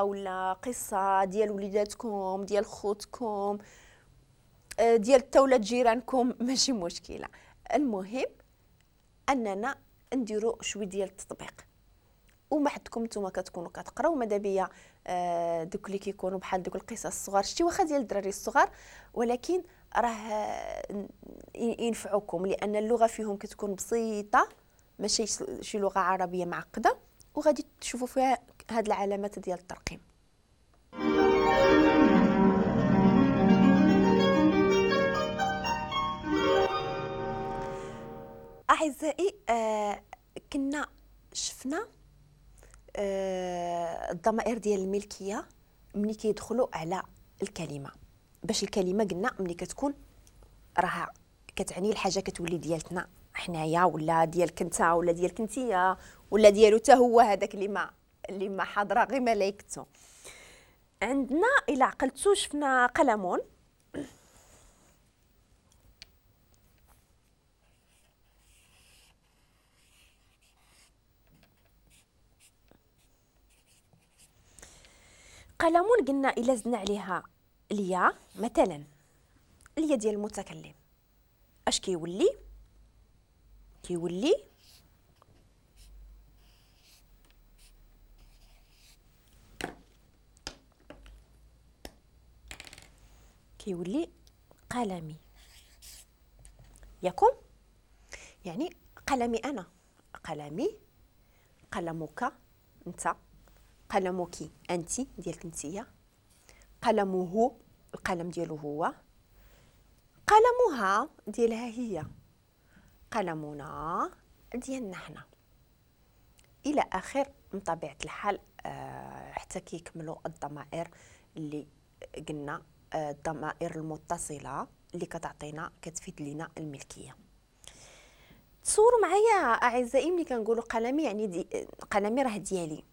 ولا قصة ديال وليداتكم، ديال خوتكم، ديال حتى ولاد جيرانكم، ماشي مشكلة. المهم اننا نديرو شوية ديال التطبيق، وما حدكم نتوما كتكونوا كتقراو ماذا بيا دوك اللي كيكونوا بحال دوك القصص الصغار، شتي واخا ديال الدراري الصغار، ولكن راه ينفعوكم لان اللغة فيهم كتكون بسيطة، ماشي شي لغة عربية معقدة، وغادي تشوفوا فيها هاد العلامات ديال الترقيم. اعزائي كنا شفنا الضمائر ديال الملكية ملي كيدخلوا على الكلمة، باش الكلمة قلنا ملي كتكون راها كتعني الحاجة كتولي ديالتنا حنايا، ولا ديالك انت، ولا ديالك انتيا، ولا ديالو حتى هو هذاك اللي ما حاضره غير ملايكتو. عندنا الى عقلتو شفنا قلمون، قلمون قلنا الا زدنا عليها اليا مثلا، اليا ديال المتكلم، اش كيولي؟ كيولي كيولي قلمي، ياكم؟ يعني قلمي انا، قلمي، قلمك انت، قلمك انت ديالك انتيا، قلمه القلم ديالو هو، قلمها ديالها هي، قلمنا ديالنا حنا، الى اخر من طبيعة الحال. حتى كيكملوا الضمائر اللي قلنا، الضمائر المتصلة اللي كتعطينا كتفيد لينا الملكية. تصوروا معايا اعزائي ملي كنقولوا قلمي، يعني قلمي راه ديالي،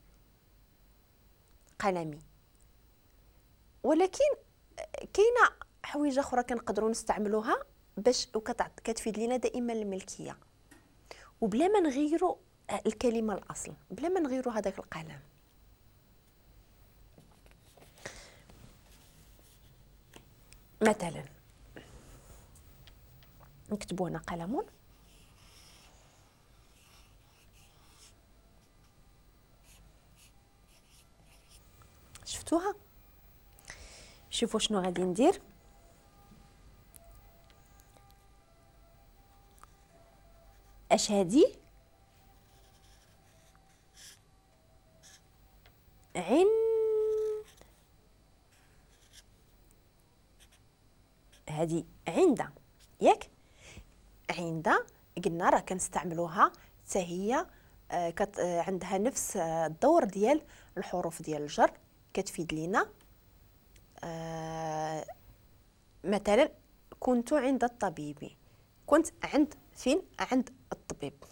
قلمي، ولكن كاينه حوايج اخرى كنقدروا نستعملوها باش كتفيد لينا دائما الملكية، وبلا ما نغيروا الكلمة الاصل، بلا ما نغيروا هذاك القلم. مثلا نكتبوا هنا قلم، شفتوها؟ شوفوا شنو غادي ندير. اش هادي؟ عن، هادي عند، ياك؟ عند قلنا راه كنستعملوها حتى هي عندها نفس الدور ديال الحروف ديال الجر، كتفيد لينا. مثلا كنت عند الطبيب، كنت عند فين؟ عند الطبيب.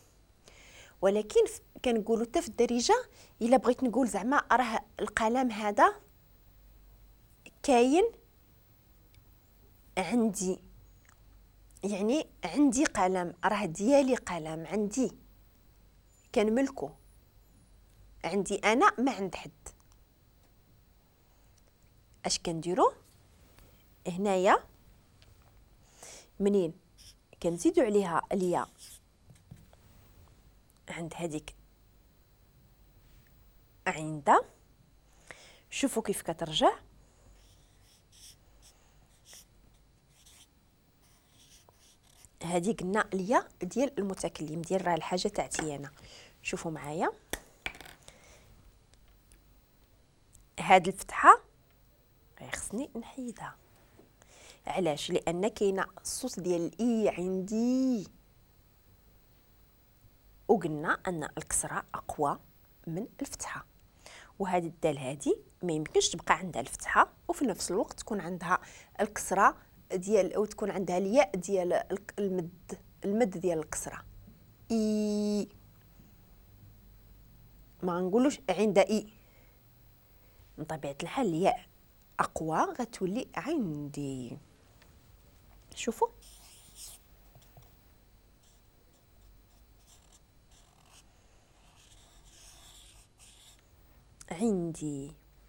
ولكن كنقولوا حتى في الدارجة الا بغيت نقول زعما راه القلم هذا كاين عندي، يعني عندي قلم، راه ديالي قلم، عندي كنملكو، عندي انا ما عند حد. اش كنديرو هنايا؟ منين كنزيدو عليها الياء عند هذيك عند، شوفوا كيف كترجع، هذه قلنا الياء ديال المتكلم، ديال راه الحاجة تاعتي انا. شوفوا معايا هاد الفتحة خصني نحيدها، علاش؟ لان كاينه الصوت ديال الاي عندي، وقلنا ان الكسرة اقوى من الفتحة، وهذه الدال هذه ما يمكنش تبقى عندها الفتحة وفي نفس الوقت تكون عندها الكسرة ديال، او تكون عندها الياء ديال المد، المد ديال الكسرة اي، ما نقولوش عند اي، من طبيعة الحال الياء اقوى غتولي عندي. شوفوا عندي.